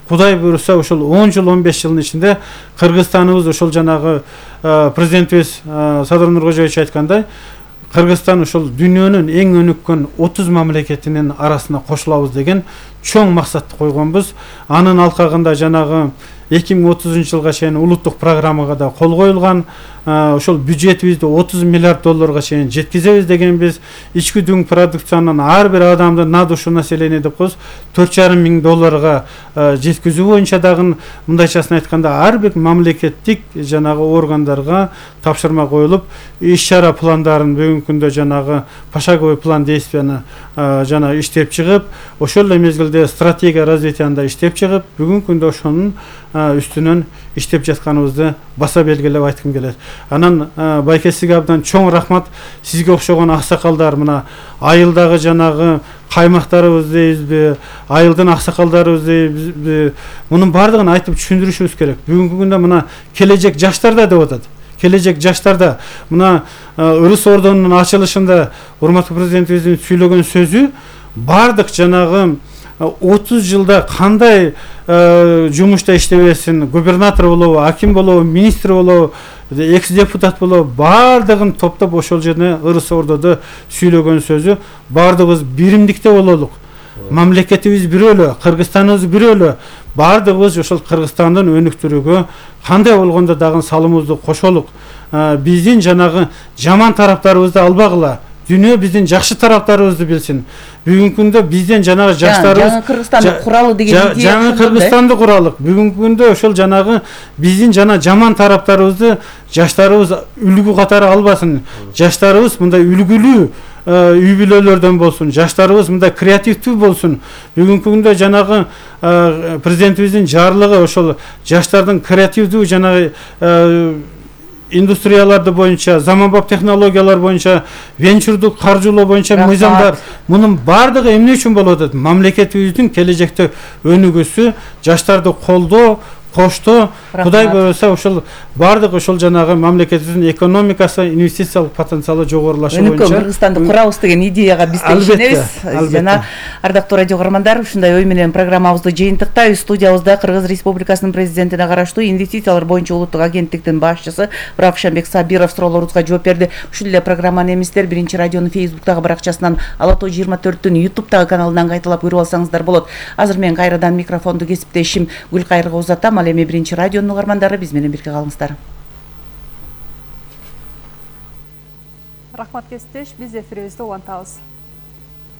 Кудай буйруса ошол 10 жыл 15 жылдын ичинде Кыргызстаныбыз ошол жанагы президентибиз Садыр Нуркожоевич айткандай Кыргызстан ошол дүйнөнүн эң өнүккөн 30 мамлекетинин арасына кошулабыз деген чоң максатты койгонбуз. Анын алкагында жанагы 2030 жылга чейин улуттук программага да кол коюлган. Ошол бюджетибизди 30 миллиард долларга чейин жеткизебиз дегенбиз. Ички дүң продукциянын ар бир адамдын на душу население деп коебуз 4,5 миң долларга жеткизүү боюнча дагы мындайчасын айтканда ар бир мамлекеттик жанагы органдарга тапшырма коюлуп, иш-чара пландарын бүгүнкү күндө жанагы пошаговый план действияны жана иштеп чыгып, ошол эле мезгилде стратегия развитияны иштеп чыгып, бүгүнкү күндө ошонун үстүнөн иштеп жатканыбызды баса белгилеп айткым келет. Анан байке сизге абдан чоң рахмат. Сизге окшогон аксакалдар мына айылдагы жанагы каймактарыбыз дейбизби, айылдын аксакалдарыбыз дейбизби, мунун баардыгын айтып түшүндүрүшүбүз керек. Бүгүнкү күндө мына келечек жаштарда деп атат. Келечек жаштарда мына Ырыс Ордонун ачылышында урматтуу президентибиздин сүйлөгөн сөзү баардык жанагы 30 жылда кандай жумушта иштебесин, губернатор болобу, аким болобу, министр болобу, экс-депутат болобу, баардыгын топтоп ошол жерде Ырыс Ордодо сүйлөгөн сөзү баардыгыбыз биримдикте бололук. Мамлекетибиз бирөөлө, Кыргызстаныбыз бирөөлө. Баардыгыбыз ошол Кыргызстандын өнүктүрүүгө кандай болгондо дагы салымыбызды кошолук. Биздин жанагы жаман тараптарыбызды албагыла. Дүйнө биздин жакшы тараптарыбызды билсин. Бүгүнкү күндө бизден жанагы жаштарыбыз жаңы Кыргызстанды куралы деген идея. Жаңы Кыргызстанды куралык. Бүгүнкү күндө ошол жанагы биздин жана жаман тараптарыбызды жаштарыбыз үлгү катары албасын. Жаштарыбыз мындай үлгүлүү үй бүлөлөрдөн болсун, жаштарыбыз мындай креативдүү болсун. Бүгүнкү күндө жанагы президентибиздин жарлыгы ошол жаштардын креативдүү жанагы индустрияларды боюнча, заманбап технологиялар боюнча, венчурдук каржылоо боюнча мыйзамдар, мунун баардыгы эмне үчүн болуп атат? Мамлекетибиздин келечекте өнүгүүсү, жаштарды колдоо, коштоо, Кудай буйруса ошол баардык ошол жанагы мамлекетибиздин экономикасы, инвестициялык потенциалы жогорулашы боюнча Кыргызстанды курабыз деген идеяга биз ишенебиз. Жана ардактуу радио көрөрмандар, ушундай ой менен программабызды жыйынтыктайбыз. Студиябызда Кыргыз Республикасынын президентине караштуу инвестициялар боюнча улуттук агенттиктин башчысы Равшанбек Сабиров суроолорубузга жооп берди. Ушул эле программаны эместер Биринчи радионун Facebook'тагы баракчасынан, Ала Тоо 24'түн YouTube'тагы каналынан кайталап көрүп алсаңыздар болот. Азыр мен кайрадан микрофонду кесиптешим Гүлкайырга узатам. Ал эми Биринчи радионун угармандары биз менен бирге калыңыздар. Рахмат кесиптеш, биз эфирибизди улантабыз.